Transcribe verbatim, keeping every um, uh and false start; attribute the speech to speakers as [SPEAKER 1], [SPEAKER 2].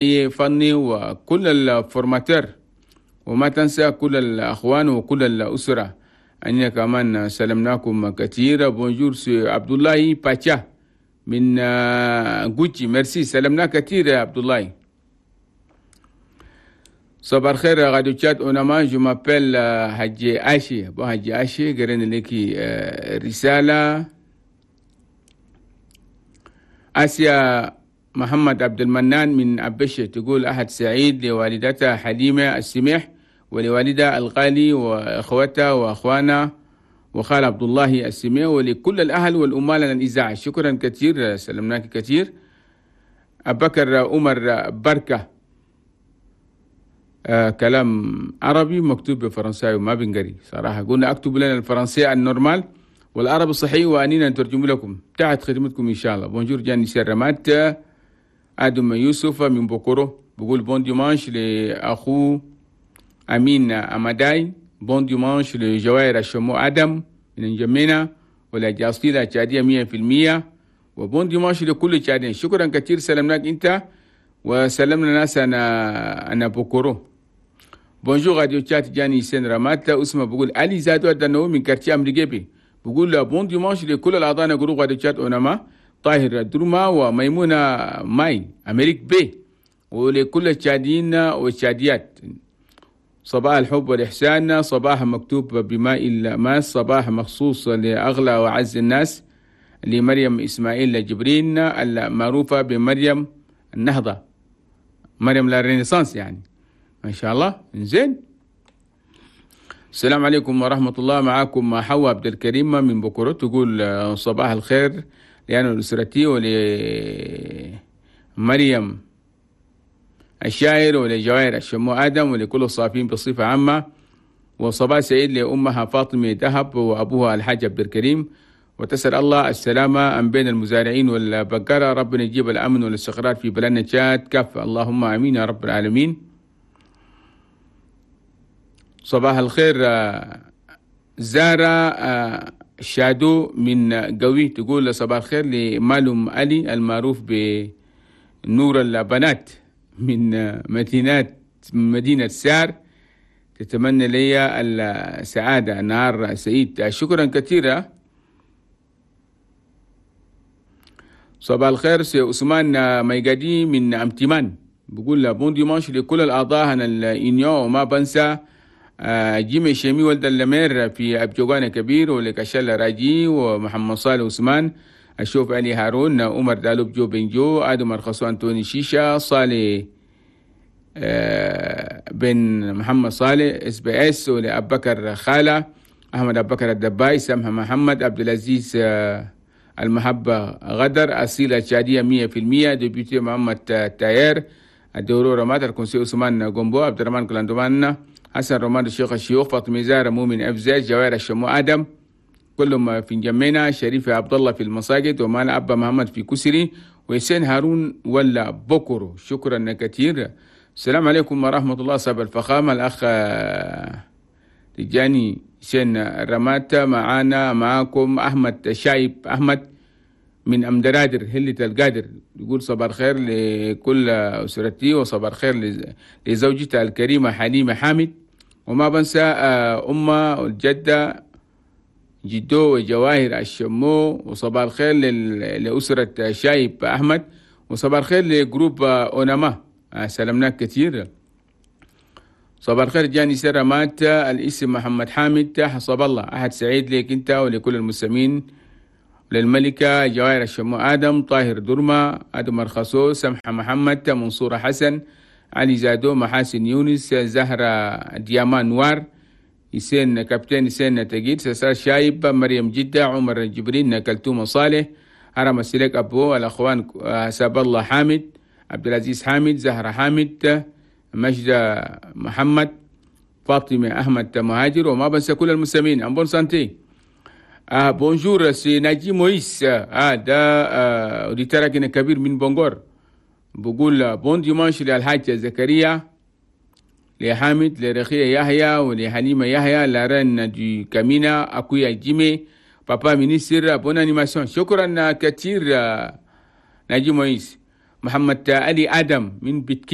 [SPEAKER 1] فني وكل ال formateurs، وما تنسى كل الأخوان وكل الأسرة. أننا كمان سلمناكم كثير. bonjour c'est عبد الله باتشا من غوتشي، ميرسي، سلمنا كثير يا عبد الله. صباح الخير راديو تشاد اوناما، je m'appelle حجي اشي. bon حجي اشي، قرينا لك رسالة. آسيا محمد عبد المنان من أبشة تقول أحد سعيد لوالدتها حليمة السميح ولوالدها الغالي وإخوتها وأخوانها وخال عبد الله السميح ولكل الأهل والأمال الإذاعة. شكرا كثير، سلمناك كثير. أبكر عمر بركة، آه كلام عربي مكتوب بفرنساوي وما بنقري صراحة. قلنا اكتب لنا الفرنسية ال normal والعربي الصحيح وأنينا نترجم لكم تحت خدمتكم إن شاء الله. bonjour جاني سرمات. آدم يوسف من بوكورو بقول bon dimanche لأخوه أمين أمداي، bon dimanche لجوائر الشمو آدم من جمينة ولا جاصيلة تشادية مية في المية، و bon dimanche لكل تشادين. شكرا كثير، سلمناك أنت وسلمنا ناس أنا أنا بوكورو. bonjour راديو تشاد جاني سين رمات. اسمه بقول علي زادو الدنو من quartier أمريكي، بقول bon dimanche لكل الأعضاء groupe راديو تشاد أونما، طاهر درما وميمونة ماي أمريك بي، ولكل التشاديين والتشاديات. صباح الحب والإحسان، صباح مكتوب بماء الماس، صباح مخصوص لأغلى وأعز الناس، لمريم إسماعيل جبرين المعروفة بمريم النهضة، مريم la renaissance يعني ما شاء الله. زين، السلام عليكم ورحمة الله، معاكم حواء عبد الكريم من بكرة، تقول صباح الخير لأنا لأسرتي ولمريم الشاعر ولجوائر الشمو آدم ولكل الصافين بصفة عامة، وصباح سعيد لأمها فاطمة ذهب وأبوها الحاج عبد الكريم، وتسأل الله السلامة أم بين المزارعين والبقرة، ربنا يجيب الأمن والاستقرار في بلدنا تشاد كافة، اللهم آمين يا رب العالمين. صباح الخير زارة شادو من قوي، تقول صباح الخير لمالوم علي المعروف بنور البنات من مدينة مدينة سار، تتمنى لي السعادة، نهار سعيد. شكرا كثيرا. صباح الخير c'est عثمان ميقادي من أمتمان، بقول bon dimanche لكل الأعضاء هنا ال union، وما بنسى جيمي شيمي ولد اللمير في أبجوغانا كبير، ولكشال راجي ومحمد صالح عثمان، الشوف علي هارون، عمر دالوب جو بنجو، آدم أرخصو أنتوني شيشة، صالح بن محمد صالح اس بي اس، ولأبكر خالة، أحمد أبكر الدباي، سمحة محمد، عبد العزيز المحبة غدر، أصيلة شادية مية في المية، député محمد تاير، الدورو رمات، الكونسي عثمان جومبو، عبد الرحمن كلاندومان، حسن رومان الشيخ الشيوخ، فاطمة زهرة مؤمن أفزاز، جوائر الشمو آدم، كلهم في جمينا، شريف عبد الله في المساجد، ومانا أبا محمد في كسري، ويسين هارون ولا بكرو. شكرا كثير. السلام عليكم ورحمة الله. صاحب الفخامة الأخ تجاني سين رماتا، معانا معاكم أحمد شايب أحمد من أمدرادر هلة القادر، يقول صباح الخير لكل أسرتي، وصباح الخير لزوجتي الكريمة حليمة حامد، وما بنسى أمة والجدة جدو وجواهر الشمو، وصباح الخير لأسرة شايب أحمد، وصباح الخير ل groupe أوناما، سلمناك كثير. صباح الخير جاني سرمات، الاسم محمد حامد حسب الله، أحد سعيد لك أنت ولكل المسلمين، للملكة جواهر الشمو آدم، طاهر درما، آدم أرخصو، سمحة محمد، منصورة حسن، علي زادو، محاسن يونس، زهرة ديامان نوار، يسين كابتن يسين تجيد، سسار شايب، مريم جدة، عمر جبرين، كلتوم صالح، هرم السلك أبو، الأخوان حساب الله حامد، عبد العزيز حامد، زهرة حامد، مجدة محمد، فاطمة أحمد مهاجر، وما بنسى كل المسلمين. en bonne santé. آه bonjour c'est ناجي مويس، آه ده آه auditeur كبير من بونغور، بقول bon dimanche للحاج زكريا، لحامد، لرخية يحيى، ولحليمة يحيى، la reine du كامينا، أكويا جيمي، papa ministre، bonne animation. شكرا كثير ناجي مويس. محمد علي آدم من بتكين.